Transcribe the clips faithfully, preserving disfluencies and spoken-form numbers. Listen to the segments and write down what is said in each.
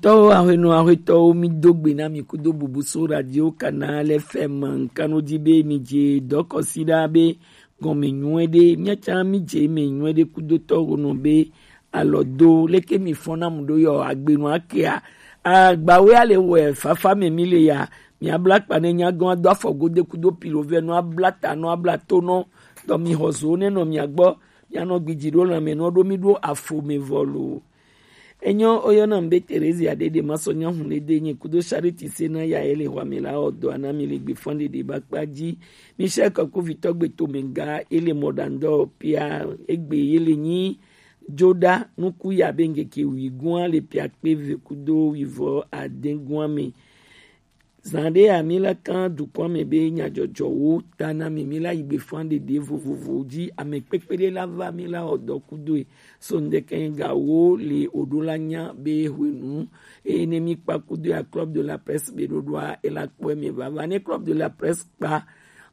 Tɔwo ahwenɔ ahwetɔwo, mi do gbe na mi kudo bubu so radio Canal F M. Nkanodi be mi je dɔkɔsi ɖa be gɔme nyuie ɖe, miatsa mi je me nyuie ɖe kudo tɔwo nɔ be alɔ do leke mi fɔna mu ɖo yɔ agbenu akea. Agbawe ale wɔ fafa me mi le ya, mi abla kpa ne nyagɔn ado afɔ gode kudo pilo vɛ nɔ abla ta nɔ abla to nɔ dɔ mi xɔ zo ne nɔ mi agbɔ, mi anɔ gbidzi ɖo lãme nɔ ɖo mi ɖo afo me vɔ lo. Enyo, oyɔna be Theresia ɖeɖe masɔ nyahun ɖe de nye kudo Charity se na ya ele xɔ ame la ɔdɔ ana mi le gbe fɔn ɖeɖe ba kpa dzi. Michel Kɔkuvitɔ gbe to me ga ele mɔ ɖandɔ pia egbe ele nyi joɖa nuku ya be ŋkeke wi gua le pia kpe ve kudo wi vɔ ade gua me. Zan ɖe ya mi la kan dukɔ me be nyadzɔdzɔwo ta na mi, mi la yi gbe fan ɖeɖe vovovo dzi ame kpekpe ɖe la va mi la ɔdɔ kudoe. So ŋdeke ga wo le oɖo la nya be hwenu eye ne mi kpa kudo ya Club de la Presse be ɖoɖoa ela kpɔe me vava ne Club de la Presse kpa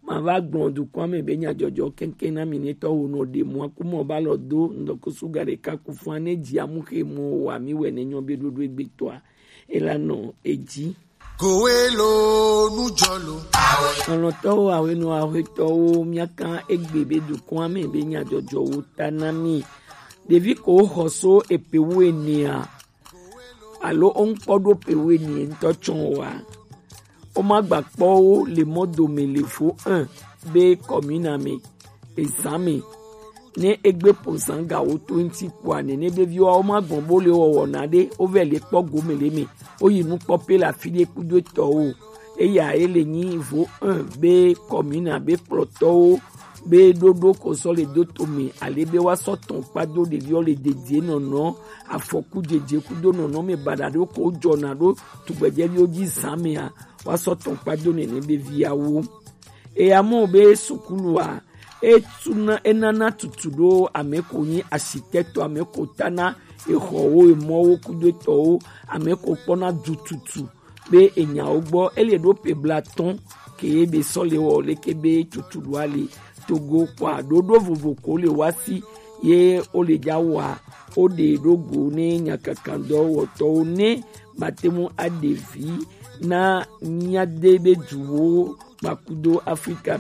ma va gblɔ dukɔa me be nyadzɔdzɔ kɛnkɛn na mi ne tɔ wo nɔ ɖe mɔ aku mɔ ba lɔ do ŋdɔkusu ga ɖeka ku fua ne dzi amu xe mɔ wa mi wɛ ne nyɔ be ɖoɖo egbe tɔa ela nɔ edzi. Kowe lo nujɔ lo. Alɔtɔwo awenɔ ahwetɔwo miaka egbe be dukɔa me be nyadzɔdzɔwo ta na mi. Ɖevi ko xɔ so epe wu enea alo wo ŋkpɔ ɖo pe wo enie ŋutɔ tsɔ wa. Wo ma gba kpɔ wo le mɔ dome le fo un be kɔmina me ezan me ne egbe po zan ga wo to ŋuti kpoa nene be viwa wo ma gbɔn bo le wɔwɔ na ɖe wo vɛ le kpɔ gome le me wo yi nu kpɔ pe le afi ɖe kudo etɔ wo. Eya ye le nyi vo un be kɔmina be kplɔtɔwo be ɖoɖo ko sɔ le do to me ale be wa sɔ tɔn kpa do ɖeviwo le dedie nɔnɔ afɔku jeje kudo nɔnɔ me baɖa ɖo ko jɔna ɖo tugbɛjɛviwo dzi zan mea wa sɔ tɔn kpa do nene be viawo. Eya mɔ be sukulua etuna enana tutu ɖo ame ko nyi asitɛtɔ ame ko tana exɔwo emɔwo kudo etɔwo ame ko kpɔna du tutu be enyawo gbɔ ele ɖo pe bla tɔn ke be sɔ le wɔ leke be tutu ɖo ali togo kpa ɖoɖo vovo ko le wa si ye wo le dza wa wo ɖe ɖo go ne nyakakandɔ wɔtɔwo ne mate mu aɖe vi na mía de be duwo kpakudo Afrika.